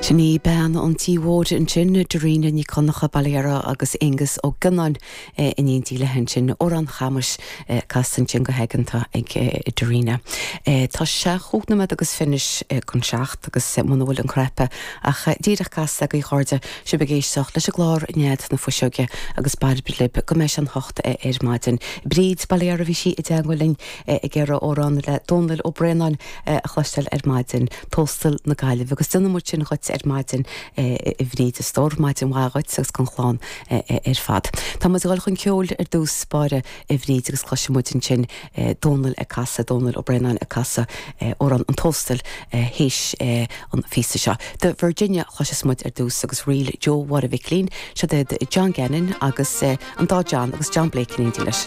Sin í bean an tí mhóir ansin, Dairena Nic Dhonncha, Baile Dheara agus Aengus Ó Gionnáin in éindí léi ansin. Amhrán Chamais casta ansin go haigeanta ag Dairena. Tá sé chúig nóiméad agus fiche anois chun seacht agus muna bhfuil an cnaipe ach díreach casta agaibh a chairde, sibh ag éisteacht leis an gclár Nead na Fuiseoige agus bairbre libh go mbeidh sé an hocht ar maidin. Bríd, Baile Dheara, bhí sí i dteagmháil linn ag iarraidh amhrán le Dónal Ó Braonáin a chloisteáil ar maidin, Tóstal na Gaillimhe, agus déanfaidh muid sin dhuit ar maidin a Bhríd, a stór, maidin mhaith dhuit agus don chlann ar fad. Tá muid ag dul chun ceoil ar dtús báire a Bhríd agus cloisfidh muid ansin Dónal ag casadh, Dónal Ó Braonáin ag casadh amhrán an Tóstail théis an phíosa seo. The Virginia a chloisfeas muid ar dtús agus ríl Joe Mháire Mhicilín, siod iad John Gannon agus an dá John agus John Blake in éindí leis.